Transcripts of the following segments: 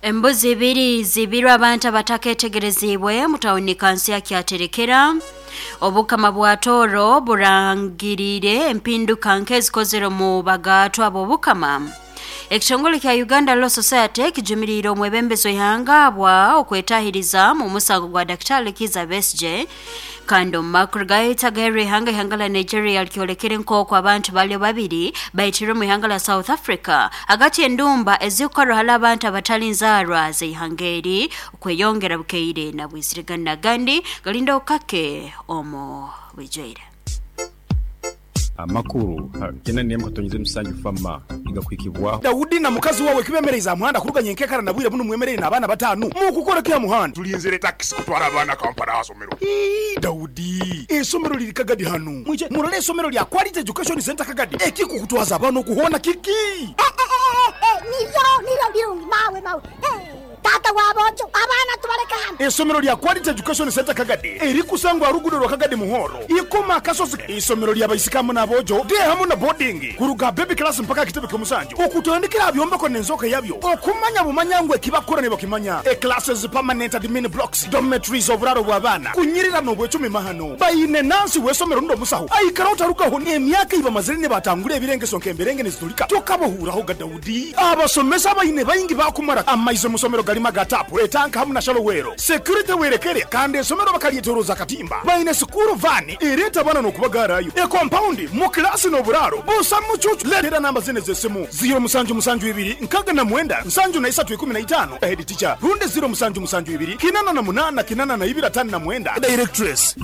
Embuzi ibiri zibirwe abantu abataketegerezibwe mu tawuni kansi ya Kyaterekera. Obukama bwa Toro burangirire empinduka nk'ezikozere mu bagatwa b'obukama. Ekitongole kya Uganda Law Society kijumiriire omwebembezi w'ihanga bwa okwetahiriza mu musango gwa Daktari Kizza Besigye. Kandi omu makuru gahera ihanga la Nigeria likyolekere nk'oku abantu bali babiri baitirwe mu ihanga la South Africa hagati endumba ezikukorwa hali abantu abatali nzaarwa z'ihanga eri okweyongera bukeire na bwizirigana gandi galinda okake omu bwijwaire. Amakuru 8.7 fama igakwikibwaho. Daudi na mukazi wawe kibemereza muhanda kuruganya enkekara na bwire buno mwemerere n'abaana batanu mukukora kya muhanda. Tulinzire taxi kutwara abaana Kampala asomero. Daudi, esomero liri Kagadi hano. Mwije murole esomero lya Quality Education Center Kagadi. Ekikukutwaza abaana okuhona kiki? Nivyo birungi mawe mawe. Tata wabojo abaana tubaleka hano. Esomero lya Quality Education Center Kagadi erikusangwa rugudo rwa Kagadi Muhoro ikoma akasozi. Isomero lya baisikamu n'abojo de hamu na boarding kuruga baby class mpaka kitebe ky'omusanju okutandikira byombeko n'enzoka yabyo okumanya bumanyangwe kibakora ne bakimanya. E classes, permanent admin blocks, dormitories, oburaro bw'abaana kunyirira n'obwecumi mahano bayine nansi w'esomero ndo musaho aikara otarukaho emyaka ibamazire ne batangura ebirengeso nk'emberenge nezitulika tokabohuraho ga Daudi. Abasomesa bayine bayingi bakumara amaize musomero galima gatapu etanka hamu na shalowero security werekere kandi esomero bakalyetoroza katimba bayine sukuru vani ereta bana n'okubagarayo e compound mu klasi n'oburaro busa mucucu. Letera namba zine z'essimu 072 69 73 15 head teacher runde 072 88 82 59 directress.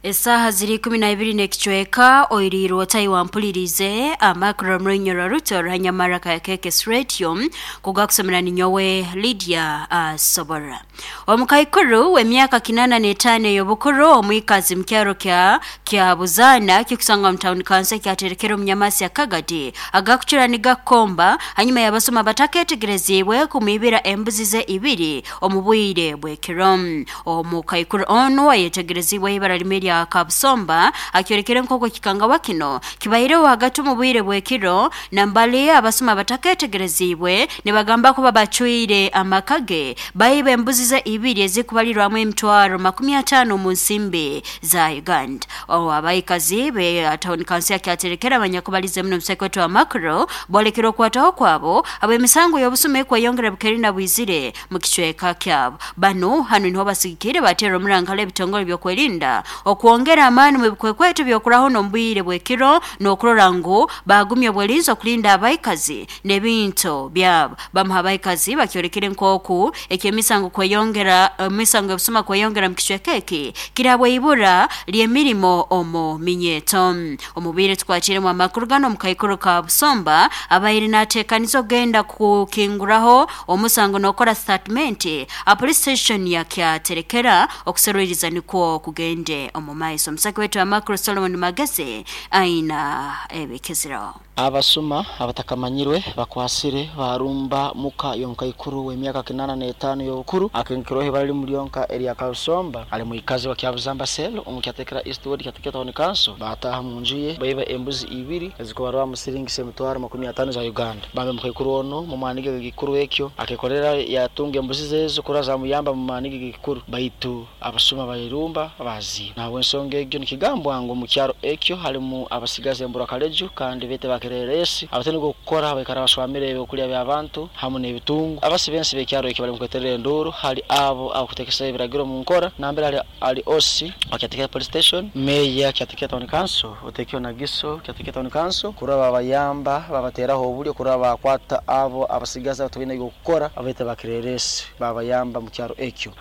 Esaha ziri 12 n'ekicweka oirirwe otayiwampulirize amakuru mrinyoro ruto ruhanyamara ka KKS Radio kugakusomera ninyowe Lydia Sobora. Omukaikuru w'emyaka 85 ey'obukuru omwikazi mukyaro kya Buzana kikusanga mu town council kyaterekera omunyamasi ya Kagadi agakucura nigakomba hanyuma yabasoma bataketegerezibwe kumwibira embuzi ze ibiri omu bwire bw'ekiro. Omukaikuru ono ayetegerezibwe ibara limwe ya Kabusomba akyorekere nkoko kikanga wakino kibaireho hagati mu bwire bw'ekiro nambali abasoma bataketegerezibwe nibagamba kuba bacwire amakage bayibe embuzi ze ibiri ezikubalirwamu emitwaro 50 mu nsimbi za Uganda. Abayikazi be town council yakyaterekera abanyakubalize muno musekweto wa makro bolekera okwataho kwabo ab'emisango y'obusume kweyongera bukeri na bwizire mu kicweka kyabo. Bano hano niho basigikire batera omurangala ebitongole by'okwerinda okwongera amaani mu bikwekweto byokuraho n'ombwire bw'ekiro n'okurora ngu bagumye obwelinzi okulinda abayikazi n'ebintu byabo. Bamuha abayikazi bakyorekere nk'oku eky'emisango kweyongera emisango y'obusuma kweyongera mu kicweka eki kirabwe ibura ly'emirimo omu minyeto. Omubire tukwakiremu amakuru gano omukaikuru ka Busomba abaire nateekaniza okugenda kukinguraho omusango n'okora statement a police station ya Kyaterekera okuserwiriza nikwo kugende omu maiso. Omusaki wetu amakuru Solomon Mageze aina ebikezero. Abasuma abatakamanyirwe bakwasire barumba muka y'omukaikuru w'emyaka 85 y'obukuru akenkirohe bali mulyonka erya Kabusomba ali muikazi wa Kyabuzamba sel omu Kyaterekera East Ward Kyaterekera Town Council bataha mu nju ye baiba embuzi ibiri ezikubarwa mu siringi emitwaro 50 za Uganda. Bambe mukaikuru ono mu manige gikuru ekyo akekolera yatunga embuzi zezo kuraza muyamba mu manige gikuru baitu abasuma bayirumba bazi nawe ensonga egyo nikigambwa ngo mu kyaro ekyo halimu abasigaze embura kaleju kandi bete bakere abatene gukora baikara baswamire okulya by'abantu hamu n'ebitungu abasibensi bekyaro ekyo bali mukweterera enduru hali abo abakutekesa ebiragiro mu nkora nambere ali osi akyatekera police station meya akyatekera town council otekyo nagiso akyatekera town council kuraba abayamba babateraho obulyo kuraba bakwata abo abasigaza batubine gukora abete bakireresi babayamba mu kyaro ekyo.